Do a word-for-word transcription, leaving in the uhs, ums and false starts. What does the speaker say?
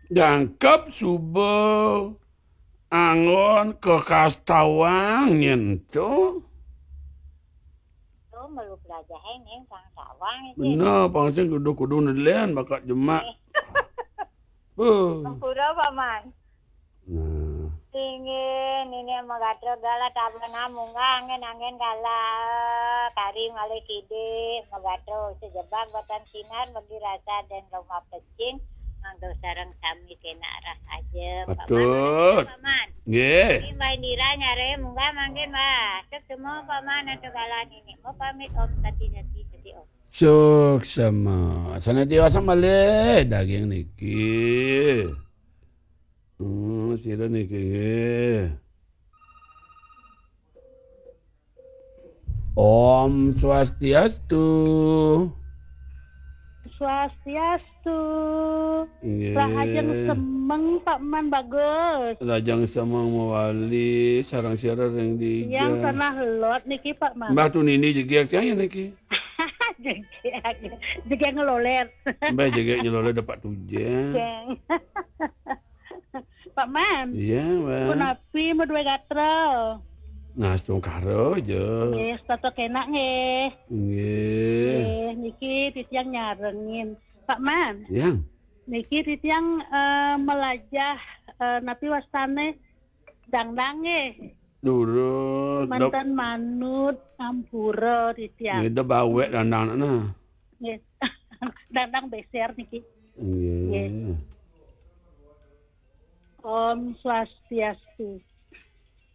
Jangkep suba anggon kakastawang nyen to. To melu pelajahe ning kastawang iki. Bener, pang sing kudu-kudu nelen bakat jemak. Beuh. Ampura, Paman. Nah. Inggih, nini magatra galah tabana munggah anggen-anggen galah kari malih kidih magatra sejebag batan sinar bagi rasa dan lomah pecing mangda sareng sami kena arah aja. Patut. Paman, Paman. Nggih. Ini Mbah Indira nyare munggah mangkin, Mbah. Suksma, Paman, antuk galah nini. Mau pamit, Om. Sati, sati, sati, Om. Suksma. Sané diwasa malih daging niki. Hmm, sira niki nggih. Om Swastiastu. Swastiastu. Nggih. Rahajeng semeng, Pak Man, bagus. Rahajeng semeng mawali, sareng sira ring dija. Tiang tanah lot niki, Pak Man. Mbah Tunini jegég tiang ya niki. Jegég, jegég ngeloler. Mbah jegég ngeloler dapat tujang. Jeng. Pak Man. Iya, Mbah. Punapi madué gatra? Nah, astungkara aja. Nggih, setata kenak nggih. Nggih. Nggih, niki titiang nyarengin. Pak Man. Yang. Niki titiang, eh, melajah, eh, napi wastane dangdang nggih. Durus. Mantan manut ampura titiang. Nggih, da bawek dangdang nah. Nggih. Dangdang beser niki. Nggih. Nggih. Om Swastiastu.